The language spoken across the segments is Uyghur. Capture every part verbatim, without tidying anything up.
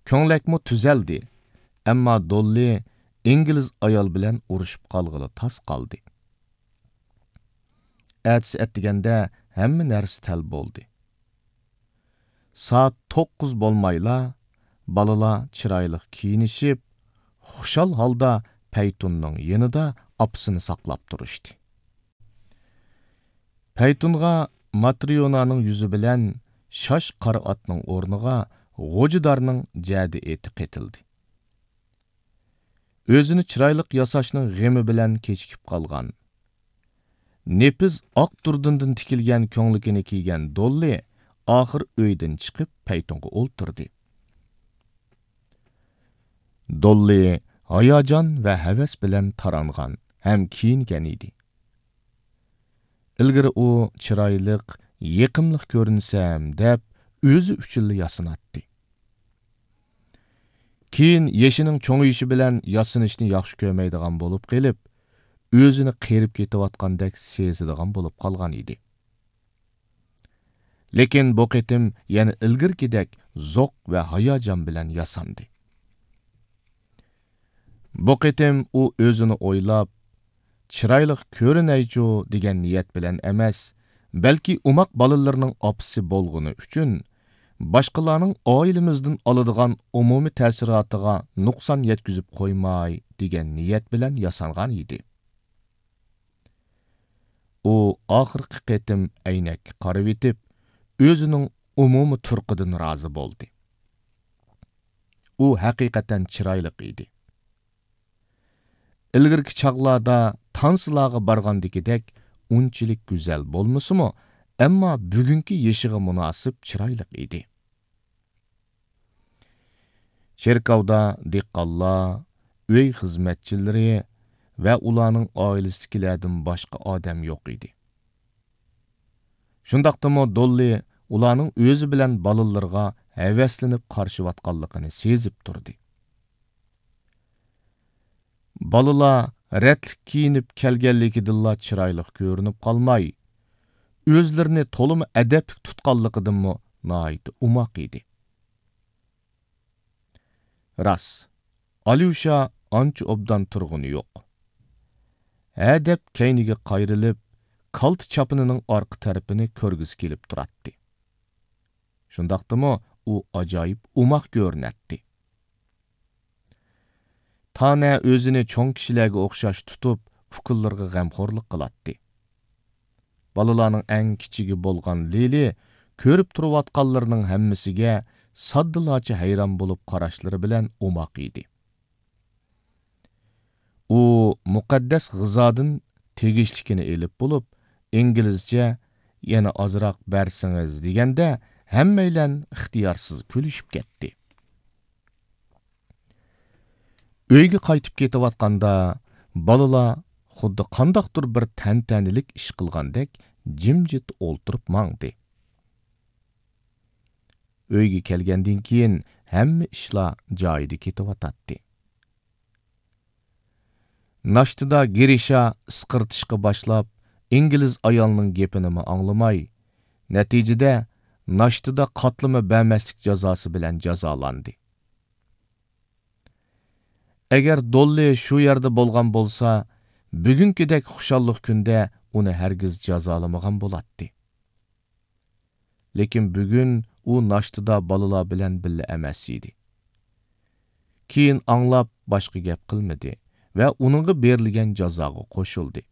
كۆڭلەكمۇ تۈزەلدى. ئەمما دوللى ئىنگلىز ئايال بىلەن ئۇرۇشۇپ قالغىلى تاس قالدى. ئەتىسى ئەتىگەندە ھەممە نەرسە تەل بولدى. سائەت توققۇز بولمايلا، بالىلار چىرايلىق كىيىنىشىپ، خۇشال ھالدا پەيتۇننىڭ يېنىدا ئاپىسىنى ساقلاپ تۇرۇشتى. پەيتۇنغا ماترىيونانىڭ يۈزى بىلەن شاش قارا ئاتنىڭ ئورنىغا غوجىدارنىڭ جەدە ئېتى قېتىلدى. ئۆزىنى چىرايلىق ياساشنىڭ غېمى بىلەن كېچىكىپ قالغان، نېپىز ئاق دۇردۇندىن تىكىلگەن كۆڭلىكىنى كىيگەن دوللى ئاخىر ئۆيدىن چىقىپ پەيتۇنغا ئولتۇردى. دوللى ھاياجان ۋە ھەۋەس بىلەن تارانغان ھەم كىيىنگەن ئىدى. ئىلگىرى ئۇ چىرايلىق، يېقىملىق كۆرۈنسەم دەپ ئۆزى ئۈچۈنلا ياسىناتتى. كېيىن يېشىنىڭ چوڭىيىشى بىلەن ياسىنىشنى ياخشى كۆرمەيدىغان بولۇپ قېلىپ، ئۆزىنى قېرىپ كېتىۋاتقاندەك سېزىدىغان بولۇپ قالغان ئىدى. لېكىن بۇ قېتىم يەنە ئىلگىرىكىدەك زوق ۋە ھاياجان بىلەن ياساندى. بۇ قېتىم ئۇ ئۆزىنى ئويلاپ، چىرايلىق كۆرۈنەيچۇ دېگەن نىيەت بىلەن ئەمەس، بەلكى ئوماق بالىلىرىنىڭ ئاپىسى بولغىنى ئۈچۈن، باشقىلارنىڭ ئائىلىمىزدىن ئالىدىغان ئومۇمىي تەسىراتىغا نۇقسان يەتكۈزۈپ قويماي دېگەن نىيەت بىلەن ياسانغان ئىدى. ئۇ ئاخىرقى قېتىم ئەينەككە قارىۋېتىپ، ئۆزىنىڭ ئومۇمىي تۇرقىدىن رازى بولدى. ئۇ ھەقىقەتەن چىرايلىق ئىدى. ئىلگىرىكى چاغلاردا تانسىلارغا بارغاندىكىدەك ئۇنچىلىك گۈزەل بولمىسىمۇ، ئەمما بۈگۈنكى يېشىغا مۇناسىپ چىرايلىق ئىدى. چېركاۋدا دېھقانلار، ئۆي خىزمەتچىلىرى ۋە ئۇلارنىڭ ئائىلىسىدىكىلەردىن باشقا ئادەم يوق ئىدى. شۇنداقتىمۇ دوللى ئۇلارنىڭ ئۆزى بىلەن بالىلىرىغا ھەۋەسلىنىپ قارىشىۋاتقانلىقىنى سېزىپ تۇردى. بالىلار رەتلىك كىيىنىپ كەلگەنلىكىدىنلا چىرايلىق كۆرۈنۈپ قالماي، ئۆزلىرىنى تولىمۇ ئەدەپلىك تۇتقانلىقىدىنمۇ ناھايىتى ئوماق ئىدى. راست، ئاليۇشا ئانچە ئوبدان تۇرغىنى يوق. ھە دەپ كەينىگە قايرىلىپ، كالتە چاپىنىنىڭ ئارقا تەرىپىنى كۆرگۈسى كېلىپ تۇراتتى. شۇنداقتىمۇ ئۇ ئاجايىپ ئوماق كۆرۈنەتتى. تانە ئۆزىنى چوڭ كىشىلەرگە ئوخشاش تۇتۇپ، ئۇكىلىرىغا غەمخورلۇق قىلاتتى. بالىلارنىڭ ئەڭ كىچىكى بولغان لىلى كۆرۈپ تۇرۇۋاتقانلىرىنىڭ ھەممىسىگە ساددىلارچە ھەيران بولۇپ قاراشلىرى بىلەن ئوماق ئىدى. ئۇ مۇقەددەس غىزادىن تېگىشلىكىنى ئېلىپ بولۇپ، ئىنگلىزچە، «يەنە ئازراق بەرسىڭىز» دېگەندە، ھەممەيلەن ئىختىيارسىز كۈلۈشۈپ كەتتى. ئۆيگە قايتىپ كېتىۋاتقاندا، بالىلار خۇددى قانداقتۇر بىر تەنتەنىلىك ئىش قىلغاندەك جىمجىت ئولتۇرۇپ ماڭدى. ئۆيگە كەلگەندىن كېيىن ھەممە ئىشلار جايىدا كېتىۋاتاتتى. ناشتىدا گىرىشا ئىسقىرتىشقا باشلاپ، ئىنگلىز ئايالنىڭ گېپىنىمۇ ئاڭلىماي، نەتىجىدە ناشتىدا قاتلىما بەرمەسلىك جازاسى بىلەن جازالاندى. ئەگەر دوللى شۇ يەردە بولغان بولسا، بۈگۈنكىدەك خۇشاللىق كۈندە ئۇنى ھەرگىز جازالىمىغان بولاتتى. لېكىن بۈگۈن ئۇ ناشتىدا بالىلار بىلەن بىللە ئەمەس ئىدى. كېيىن ئاڭلاپ باشقا گەپ قىلمىدى ۋە ئۇنىڭغا بېرىلگەن جازاغا قوشۇلدى.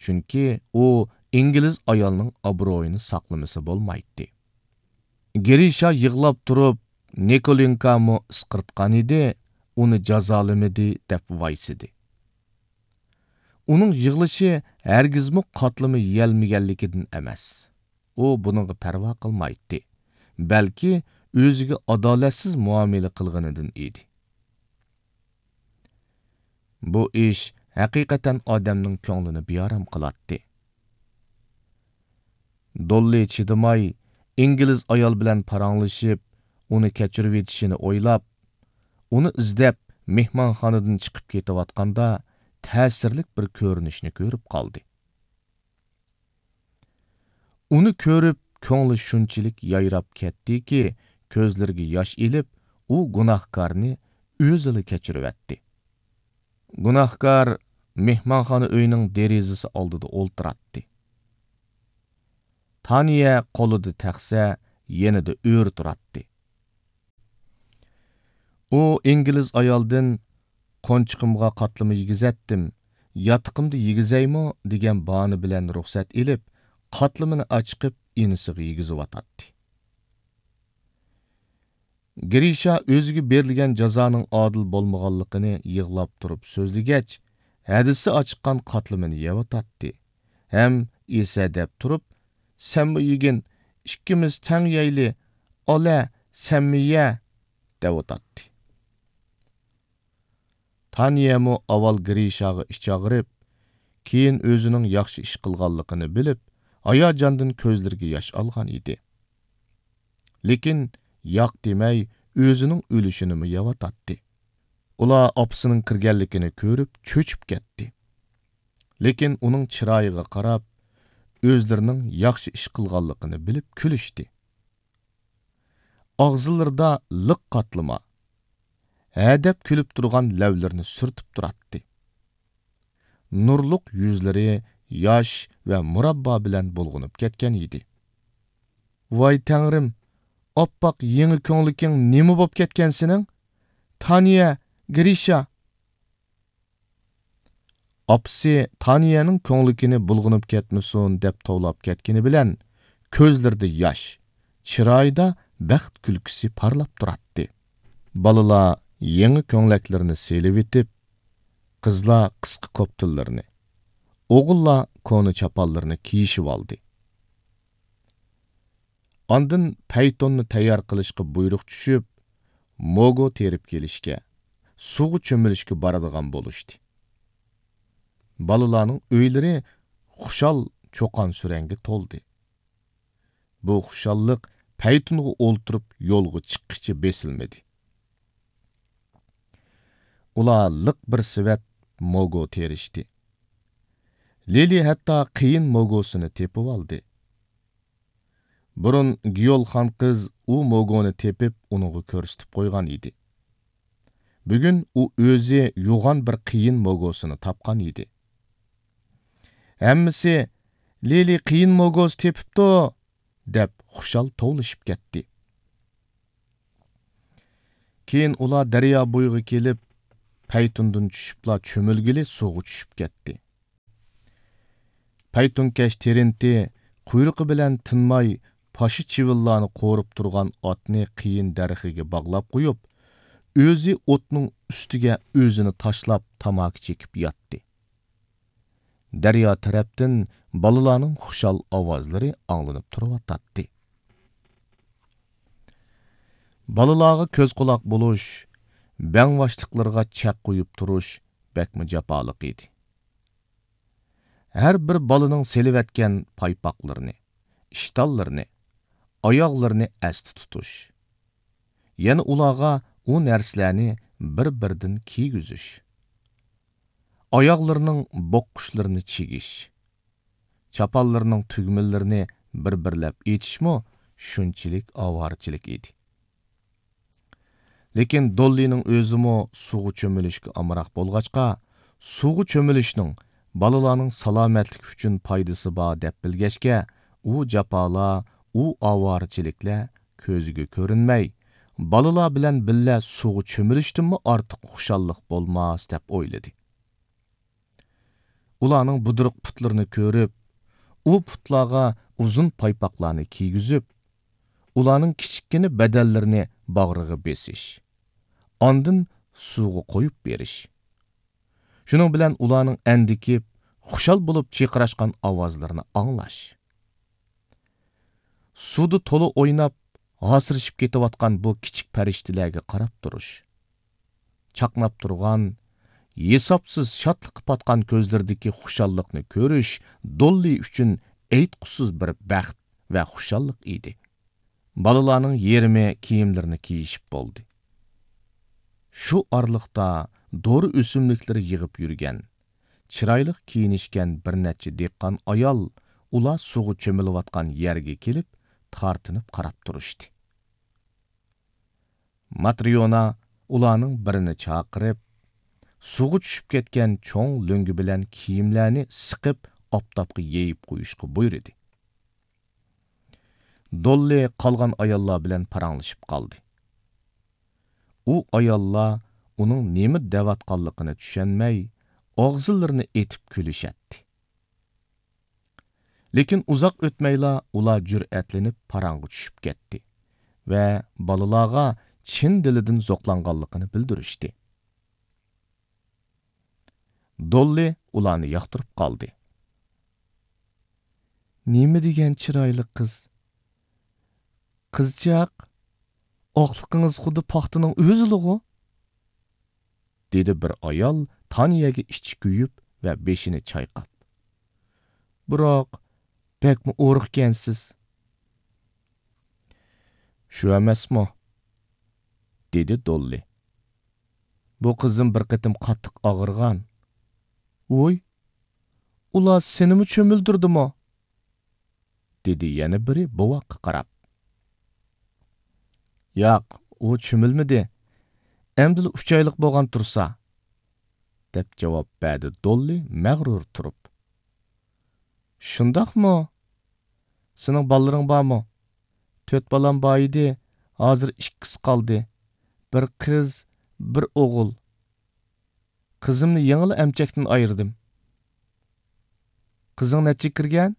چۈنكى ئۇ ئىنگلىز ئايالنىڭ ئابرۇيىنى ساقلىمىسا بولمايتتى. گىرىشا يىغلاپ تۇرۇپ، نىكولېنكامۇ ئىسقىرتقان ئىدى، ئۇنى جازالىمىدى دەپ ۋايسىدى. ئۇنىڭ يىغلىشى ھەرگىزمۇ قاتلىما يېيەلمىگەنلىكىدىن ئەمەس. ئۇ بۇنىڭغا پەرۋا قىلمايتتى، بەلكى ئۆزىگە ئادالەتسىز مۇئامىلە قىلغىنىدىن ئىدى. بۇ ئىش ھەقىقەتەن ئادەمنىڭ كۆڭلىنى بىئارام قىلاتتى. دوللى چىدىماي، ئىنگلىز ئايال بىلەن پاراڭلىشىپ، ئۇنى كەچۈرۈۋېتىشىنى ئويلاپ، ئۇنى ئىزدەپ مېھمانخانىدىن چىقىپ كېتىۋاتقاندا، تەسىرلىك بىر كۆرۈنۈشنى كۆرۈپ قالدى. ئۇنى كۆرۈپ، كۆڭلى شۇنچىلىك يايراپ كەتتىكى، كۆزلىرىگە ياش ئېلىپ، ئۇ گۇناھكارنى ئۆزىلا كەچۈرۈۋەتتى. گۇناھكار مېھمانخانا ئۆينىڭ دېرىزىسى ئالدىدا ئولتۇراتتى. تانىيە قولىدا تەخسە، يېنىدا ئۆرە تۇراتتى. ئۇ ئىنگلىز ئايالدىن «قونچىقىمغا قاتلىما يېگۈزەتتىم، ياتىقىمدا يېگۈزەيمۇ؟» دېگەن باھانە بىلەن رۇخسەت ئېلىپ، قاتلىمىنى ئاچىقىپ ئىنىسىغا يېگۈزۈۋاتاتتى. گرىشا ئۆزىگە بېرىلگەن جازانىڭ ئادىل بولمىغانلىقىنى يىغلاپ تۇرۇپ سۆزلىگەچ، ھەدىسى ئاچىققان قاتلىمىنى يەۋاتاتتى ھەم ئېسەدەپ تۇرۇپ، «سەنمۇ يېگىن، ئىككىمىز تەڭ يەيلى، ئالە، سەنمۇ يە» دەۋاتاتتى. تانىيەمۇ ئاۋۋال گرىشاغا ئىچ ئاغرىپ، كېيىن ئۆزىنىڭ ياخشى ئىش قىلغانلىقىنى بىلىپ، ھاياجاندىن كۆزلىرىگە ياش ئالغان ئىدى. لېكىن ياق دېمەي، ئۆزىنىڭ ئۈلۈشىنىمۇ يەۋاتاتتى. ئۇلار ئاپىسىنىڭ كىرگەنلىكىنى كۆرۈپ چۆچۈپ كەتتى. لېكىن ئۇنىڭ چىرايىغا قاراپ، ئۆزلىرىنىڭ ياخشى ئىش قىلغانلىقىنى بىلىپ كۈلۈشتى. ئاغزىلىرىدا لىق قاتلىما، ھەدەپ كۈلۈپ تۇرغان لەۋلىرىنى سۈرتۈپ تۇراتتى. نۇرلۇق يۈزلىرى ياش ۋە مۇراببا بىلەن بۇلغىنىپ كەتكەن ئىدى. ۋاي تەڭرىم، ئاپئاق يېڭى كۆڭلىكىڭ نېمە بوپ كەتكەن سېنىڭ؟ تانىيە، گرىشا! ئاپىسى تانىيەنىڭ كۆڭلىكىنى بۇلغىنىپ كەتمىسۇن دەپ توۋلاپ كەتكىنى بىلەن، كۆزلىرىدە ياش، چىرايىدا بەخت كۈلكىسى پارلاپ تۇراتتى. بالىلار يېڭى كۆڭلەكلىرىنى سېلىۋېتىپ، قىزلار قىسقا كوپتىلىرىنى، ئوغۇللار كونا چاپانلىرىنى كىيىشىۋالدى. ئاندىن پەيتۇننى تەييار قىلىشقا بۇيرۇق چۈشۈپ، موگو تېرىپ كېلىشكە، سۇغا چۆمۈلۈشكە بارىدىغان بولۇشتى. بالىلارنىڭ ئۆيلىرى خۇشال چۇقان-سۈرەنگە تولدى. بۇ خۇشاللىق پەيتۇنغا ئولتۇرۇپ يولغا چىققىچە بېسىلمىدى. ئۇلار لىق بىر سېۋەت موگو تېرىشتى. لىلى ھەتتا قېيىن موگوسىنى تېپىۋالدى. بۇرۇن گيول خان قىز ئۇ موگونى تېپىپ، ئۇنىڭغا كۆرسىتىپ قويغان ئىدى. بۈگۈن ئۇ ئۆزى يوغان بىر قېيىن موگوسىنى تاپقان ئىدى. ھەممىسى «لىلى قېيىن موگوسى تېپىپتۇ!» دەپ خۇشال توۋلىشىپ كەتتى. كېيىن ئۇلار دەريا بويىغا كېلىپ، پەيتۇندىن چۈشۈپلا چۆمۈلگىلى سۇغا چۈشۈپ كەتتى. پەيتۇنكەش تېرىنتى قۇيرۇقى بىلەن تىنماي پاشا چىۋىنلارنى قورۇپ تۇرغان ئاتنى قېيىن دەرىخىگە باغلاپ قويۇپ، ئۆزى ئوتنىڭ ئۈستىگە ئۆزىنى تاشلاپ تاماكا چېكىپ ياتتى. دەريا تەرەپتىن بالىلارنىڭ خۇشال ئاۋازلىرى ئاڭلىنىپ تۇرۇۋاتاتتى. بالىلارغا كۆز-قۇلاق بولۇش، بەڭباشلىقلىرىغا چەك قويۇپ تۇرۇش بەكمۇ جاپالىق ئىدى. ھەر بىر بالىنىڭ سېلىۋەتكەن پايپاقلىرىنى، ئىشتانلىرىنى، ئاياغلىرىنى ئەستە تۇتۇش. يەنە ئۇلارغا ئۇ نەرسىلەرنى بىر-بىردىن كىيگۈزۈش. ئاياغلىرىنىڭ بوققۇچلىرىنى چىگىش. چاپانلىرىنىڭ تۈگمىلىرىنى بىر-بىرلەپ ئېچىشمۇ شۇنچىلىك ئاۋارىچىلىك ئىدى. لېكىن دوللىنىڭ ئۆزىمۇ سۇغا چۆمۈلۈشكە ئامراق بولغاچقا، سۇغا چۆمۈلۈشنىڭ بالىلارنىڭ سالامەتلىكى ئۈچۈن پايدىسى بار دەپ بىلگەچكە، ئۇ جاپالار، ئۇ ئاۋارىچىلىكلەر كۆزىگە كۆرۈنمەي، بالىلار بىلەن بىللە سۇغا چۆمۈلۈشتىنمۇ ئارتۇق خۇشاللىق بولماس دەپ ئويلىدى. ئۇلارنىڭ بۇدرۇق پۇتلىرىنى كۆرۈپ، ئۇ پۇتلارغا ئۇزۇن پايپاقلارنى كىيگۈزۈپ، ئۇلارنىڭ كىچىككىنە بەدەنلىرىنى باغرىغا بېسىش، ئاندىن سۇغا قويۇپ بېرىش. شۇنىڭ بىلەن ئۇلارنىڭ ئەندىكىپ، خۇشال بولۇپ چىرقىراشقان ئاۋازلىرىنى ئاڭلاش. سۇدا تولا ئويناپ، ھاسىرىشىپ كېتىۋاتقان بۇ كىچىك پەرىشتىلەرگە قاراپ تۇرۇش. چاقناپ تۇرغان، ھېسابسىز شادلىققا پاتقان كۆزلىرىدىكى خۇشاللىقنى كۆرۈش دوللى ئۈچۈن ئېيتقۇسىز بىر بەخت ۋە خۇشاللىق ئىدى. بالىلارنىڭ يېرىمى كىيىملىرىنى كىيىشىپ بولدى. شۇ ئارىلىقتا دورا ئۆسۈملۈكلىرى يىغىپ يۈرگەن، چىرايلىق كىيىنىشكەن بىر نەچچە دېھقان ئايال ئۇلار سۇغا چۆمۈلۈۋاتقان يەرگە كېلىپ، تارتىنىپ قاراپ تۇرۇشتى. ماتريونا ئۇلارنىڭ بىرىنى چاقىرىپ، سۇغا چۈشۈپ كەتكەن چوڭ لۆڭگە بىلەن كىيىملەرنى سىقىپ، ئاپتاپقا يېيىپ قويۇشقا بۇيرۇدى. دوللى قالغان ئاياللار بىلەن پاراڭلىشىپ قالدى. ئۇ ئاياللار ئۇنىڭ نېمە دەۋاتقانلىقىنى چۈشەنمەي، ئاغزىلىرىنى ئېتىپ كۈلۈشەتتى. لېكىن ئۇزاق ئۆتمەيلا ئۇلار جۈرئەتلىنىپ پاراڭغا چۈشۈپ كەتتى ۋە بالىلارغا چىن دىلىدىن زوقلانغانلىقىنى بىلدۈرۈشتى. دوللى ئۇلارنى ياقتۇرۇپ قالدى. نېمە دېگەن چىرايلىق قىز! قىزچاق، ئاقلىقىڭىز خۇددى پاختىنىڭ ئۆزىلىغۇ! دېدى بىر ئايال تانىيەگە ئىچى كۆيۈپ ۋە بېشىنى چايقاپ. بىراق، بەكمۇ ئورۇقكەنسىز. شۇ ئەمەسمۇ؟ دېدى دوللى. بۇ قىزىم بىر قېتىم قاتتىق ئاغرىغان. ۋوي، ئۇلار سېنىمۇ چۆمۈلدۈردىمۇ؟ دېدى يەنە بىرى بوۋاققا قاراپ. ياق، ئۇ چۆمۈلمىدى. ئەمدىلا ئۈچ ئايلىق بولغان تۇرسا، دەپ جاۋاب بەردى دوللى مەغرۇر تۇرۇپ. شۇنداقمۇ؟ سېنىڭ بالىلىرىڭ بارمۇ؟ تۆت بالام بار ئىدى، ھازىر ئىككىسى قالدى. بىر قىز، بىر ئوغۇل. قىزىمنى يېڭىلا ئەمچەكتىن ئايرىدىم. قىزىڭ نەچچىگە كىرگەن؟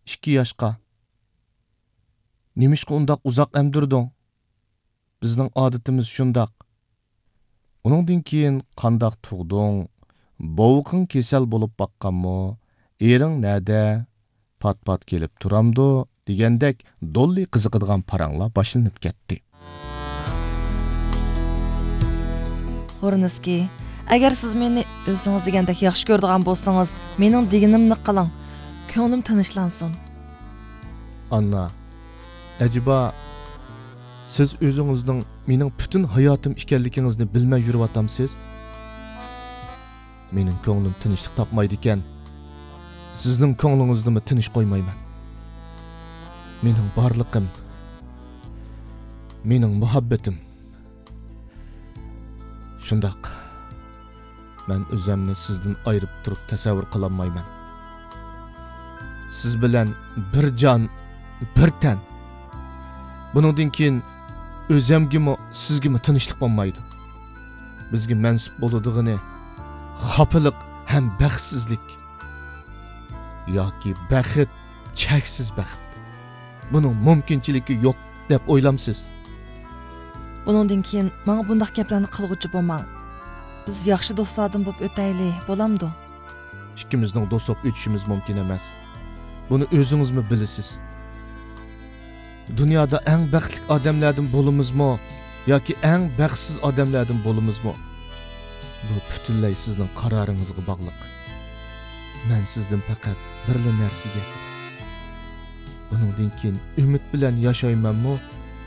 ئىككى ياشقا. نېمىشقا ئۇنداق ئۇزاق ئەمدۈردۈڭ؟ بىزنىڭ ئادىتىمىز شۇنداق. ئۇنىڭدىن كېيىن قانداق تۇغدۇڭ؟ بوۋىقىڭ كېسەل بولۇپ باققانمۇ؟ ئېرىڭ نەدە؟ پات-پات كېلىپ تۇرامدۇ؟ دېگەندەك دوللى قىزىقىدىغان پاراڭلار باشلىنىپ كەتتى. ھورنىسكىي، ئەگەر سىز مېنى ئۆزىڭىز دېگەندەك ياخشى كۆرىدىغان بولسىڭىز، مېنىڭ دېگىنىمنى قىلىڭ. كۆڭلۈم تىنچلانسۇن. ئاننا، ئەجەبا، سىز ئۆزىڭىزنىڭ مېنىڭ پۈتۈن ھاياتىم ئىكەنلىكىڭىزنى بىلمەي يۈرۈۋاتامسىز؟ مېنىڭ كۆڭلۈم تىنچلىق تاپمايدىكەن، سىزنىڭ كۆڭلىڭىزنىمۇ تىنچ قويمايمەن. مېنىڭ بارلىقىم، مېنىڭ مۇھەببىتىم. شۇنداق، مەن ئۆزەمنى سىزدىن ئايرىپ تۇرۇپ تەسەۋۋۇر قىلالمايمەن. سىز بىلەن بىر جان، بىر تەن. بۇنىڭدىن كېيىن ئۆزەمگىمۇ، سىزگىمۇ تىنچلىق بولمايدۇ. بىزگە مەنسۇپ بولىدىغىنى خاپىلىق ھەم بەختسىزلىك. ياكى بەخت، چەكسىز بەخت. بۇنىڭ مۇمكىنچىلىكى يوق دەپ ئويلامسىز؟ بۇنىڭدىن كېيىن ماڭا بۇنداق گەپلەرنى قىلغۇچى بولماڭ. بىز ياخشى دوستلاردىن بولۇپ ئۆتەيلى، بولامدۇ؟ ئىككىمىزنىڭ دوست بولۇپ ئۆتۈشىمىز مۇمكىن ئەمەس. بۇنى ئۆزىڭىزمۇ بىلىسىز. دۇنيادا ئەڭ بەختلىك ئادەملەردىن بولىمىزمۇ ياكى ئەڭ بەختسىز ئادەملەردىن بولىمىزمۇ، بۇ پۈتۈنلەي سىزنىڭ قارارىڭىزغا باغلىق. مەن سىزدىن پەقەت بىرلا نەرسىگە، بۇنىڭدىن كېيىن ئۈمىد بىلەن ياشايمەنمۇ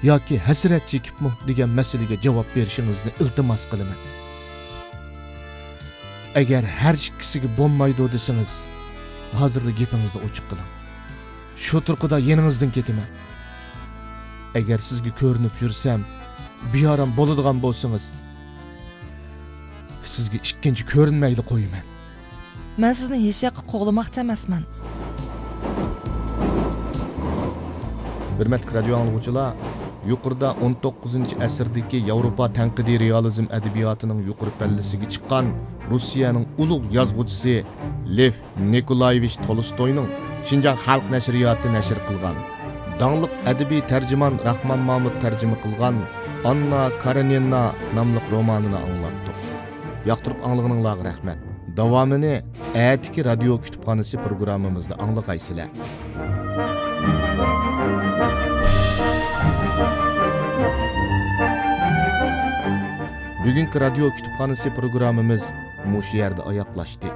ياكى ھەسرەت چېكىپمۇ دېگەن مەسىلىگە جاۋاب بېرىشىڭىزنى ئىلتىماس قىلىمەن. ئەگەر ھەر ئىككىسىگە بولمايدۇ دېسىڭىز، ھازىرلا گېپىڭىزنى ئوچۇق قىلىڭ. شۇ تۇرقىدا يېنىڭىزدىن كېتىمەن. ئەگەر سىزگە كۆرۈنۈپ يۈرسەم، بىئارام بولىدىغان بولسىڭىز، سىزگە ئىككىنچى كۆرۈنمەيلا قويىمەن. مەن سىزنى ھېچياققا قوغلىماقچى ئەمەسمەن. ھۆرمەتلىك رادىيو ئاڭلىغۇچىلار، يۇقىرىدا ئون توققۇزىنچى ئەسىردىكى ياۋروپا تەنقىدىي رېئالىزم ئەدەبىياتىنىڭ يۇقىرى پەللىسىگە چىققان روسىيەنىڭ ئۇلۇغ يازغۇچىسى لېف نىكولايېۋىچ تولستوينىڭ شىنجاڭ خەلق نەشرىياتى نەشر قىلغان، داڭلىق ئەدەبىي تەرجىمان راخمان مامۇت تەرجىمە قىلغان ئاننا كارېنىنا ناملىق رومانىنى ئاڭلاتتۇق. ياقتۇرۇپ ئاڭلىغىنىڭلارغا رەھمەت. داۋامىنى ئەتىكى رادىيو كۇتۇپخانىسى پروگراممىمىزدا ئاڭلىغايسىلەر. بۈگۈنكى رادىيو كۇتۇپخانىسى پروگراممىمىز مۇشۇ يەردە ئاياغلاشتى.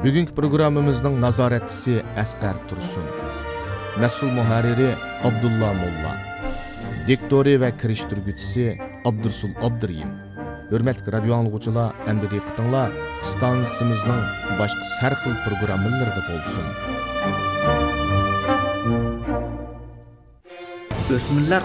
بۈگۈنكى پروگراممىمىزنىڭ نازارەتچىسى ئەسقەر تۇرسۇن. مەسئۇل مۇھەررىرى ئابدۇللا موللا. دىكتورى ۋە كىرىشتۈرگۈچىسى ئابدۇرسۇل ئابدۇرېھىم. ھۆرمەتلىك رادىيو ئاڭلىغۇچىلار، ئەمدى دىققىتىڭلار ئىستانسىمىزنىڭ باشقا ھەر خىل پروگراممىلىرىدا بولسۇن. ئۆسمۈرلەر